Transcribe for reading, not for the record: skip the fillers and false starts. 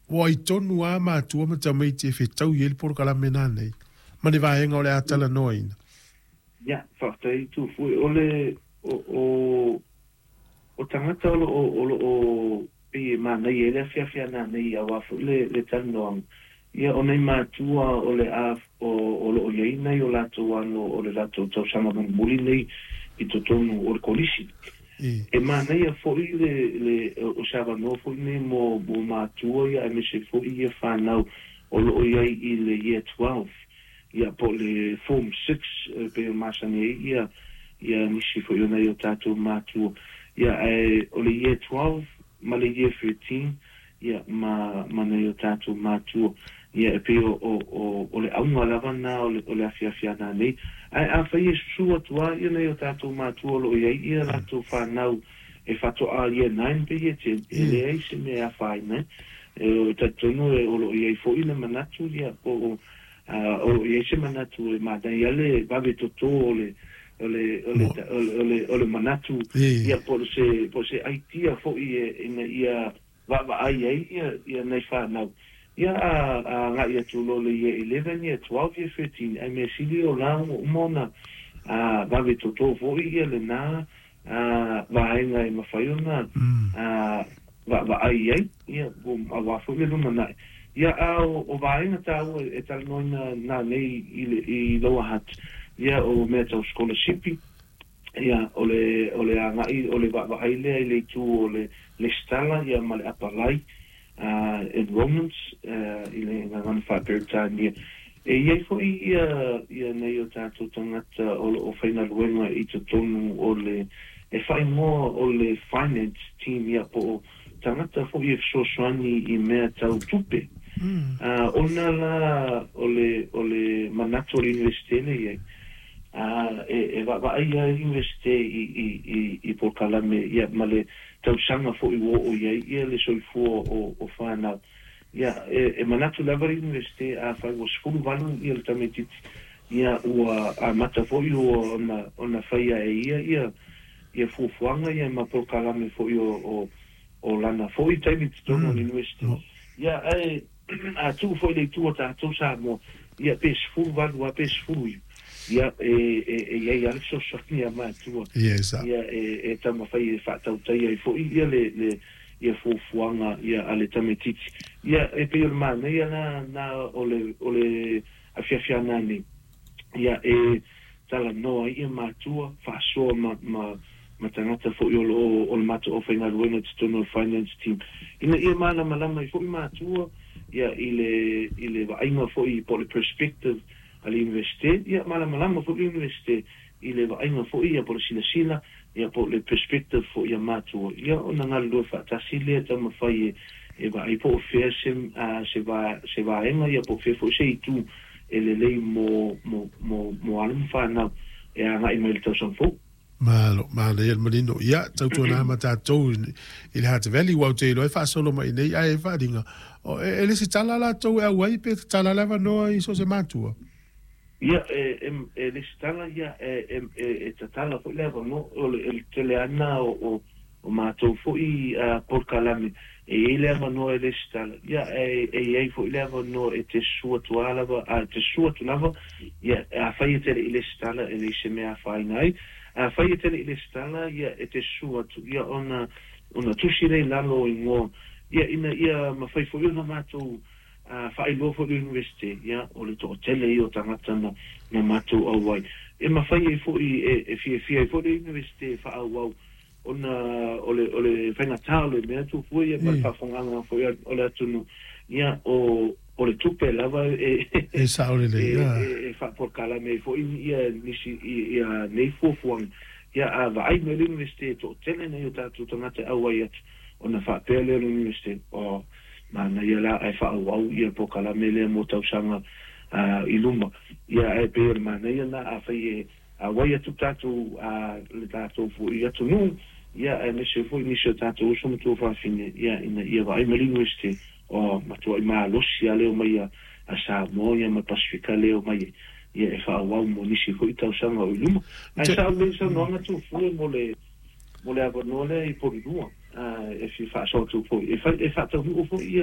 Ua ai tonu lava matua ma tamaiti e fetaui ai le polokalame nanei ma le vaega o le a talanoaina. Ia, faafetai Tufue. O le, o, o, o tagata o lo o, o lo o pei e manaia ai le afiafi a nanei aua foi le, le talanoaga, ia, o nai matua o le a, o, o lo o i ai nai o latou alo o le latou tausaga mulimuli nei i totonu o le kolisi. E manaia foi le, le, o se avanoa foi lenei mo, mo matua ia aemaise foi ia fanau o lo o i ai i le Year 12, ia po o le Form 6 e pei ona masani ai ia, ia nisi foi o nai o tatou matua. Ia ae o le Year 12 ma le Year 13 ia ma, ma nai o tatou matua. Ia e pei o, o, o, o le auga lava lena o le, o le afiafi a nanei. Ae afai e susu atu lava ia nai o tatou matua o lo o i ai ia latou fanau e faatoa Year 9 pe Year 10, e leai se mea e afaina ai. E talitonu o lo o i ai foi le manatu ia po o, o lo o i ai se manatu e manaia le vave toto o le, o le, o le, o le, o le, o le manatu ia po o se, po o se aitia foi e, ina ia vaavaai ai ia, ia nai fanau. Ia a, a agai atu loa i le Year 11, Year 12, Year 13, ae mea sili o la ua uma ona vave toto foi ia lena vaega e mafai ona vaavaai ai, ia, aua foi le lumanai. Ia, a o, o vaega taua e talanoaina nanei i, le, i Lower Hutt, ia, o mea tau sikolasipi, ia, o le, o le agai, o le vaavaai lea i le itu o le lesitala, ia, ma le apalai, enrollments, i le gagana faa-Peretania. E i ai foi ia, ia nai o tatou tagata o lo o faigaluega i totonu o le, e faaigoa o le finance team, ia, po o tagata foi e fesoasoani i mea tau tupe. Ona la o le, o le manatu o le Iunivesite lea e i ai, e, e vaavaai lava le Iunivesite i, i, i, i polokalame, ia, ma le tausaga foi ua oo i ai ia le soifua o, o fanau. Ia, e, e manatu lava le Iunivesite afai ua 18 ia le tamaitiiti, ia ua amata foi ona, ona faia e ia ia, ia fuafuaga ia ma polokalame foi o, o, o lana foi taimi i totonu o le Iunivesite. Ia, ae a tuu foi i le itu o tatou Samoa, ia pe 18 lava pe 19, ia e, e, e i ai lava le fesoasoani a matua, ia e, e taumafai e faatautaia ai foi ia le, le, ia fuafuaga ia a le tamaitiiti. Ia e pei o le manaia la na o le, o le afiafi a nanei, ia e talanoa ai ia matua, faasoa ma, ma, ma tagata foi o lo o, o le matou aufaigaluega i totonu o le finance team, ina ia malamalama ai foi matua ia i le, i le vaaiga foi po o le perspective a le Iunivesite, ia malamalama foi le Iunivesite i le vaaiga foi ia po o le silasila ia po o le perspective foi a matua, ia ona galulue faatasi lea taumafai e, e vaai po o fea se, se, va, se vaega ia po o fea foi se itu e lelei mo, mo, mo, mo alo ma fanau e agai mai i le tausaga fou. Malo, manaia le manino. Ia, tautuana ma tatou i le Hutt Valley, ua ou te iloa e faasolo mai nei, ae e faaaliga, e, e lesitala latou e auai pe tatala le avanoa i so o se matua? Ia, e, e, e lesitala, ia, e, e, e, e tatala foi le avanoa, o le, le tele ana o, o, o matou foi polokalame, e i ai le avanoa e lesitala, ia, e, e i ai foi le avanoa e te susu atu a lava, a e te susu atu lava, ia, afai e te le i lesitala, e leai se mea e afaina ai. Afai e te le i lesitala, ia, e te susu atu, ia, ona, ona tusi lea i lalo o igoa, ia, ina ia mafai foi ona matou faailoa foi i le Iunivesite, ia, o le toatele ia o tagata na, na matou auai. E mafai ai foi, e, e fiafia ai foi le Iunivesite e faaauau ona o le, o le faigata o le mea tupu ia ma le faafofogaaga foi o le atunuu, ia, o, o le tupe lava e, E sao lelei, e, e, e faapolokalame ai foi ia nisi, ia nei fuafuaga. Ia, a vaai mai le Iunivesite e toatele nai o tatou tagata e auai atu, ona faapea lea o le Iunivesite, oh, manaia la ae faaauau ia polokalame lea mo tausaga i luma. Ia, ae pei o le manaia lena afai e auai atu tatou, le tatou foi atunuu, ia, aemaise foi nisi o tatou uso ma tuafafine, ia, ina ia vaai mai le Iunivesite, oh, matuai malosi lava le omai a Samoa ia ma le Pasefika lea e omai ai, ia, e faaauau mo nisi foi tausaga o i luma. Ae sao lelei le saunoaga Tuafue mo le, mo le avanoa lea i Polilua, e fia faasoa atu foi, e fai, e faataunuu foi ia.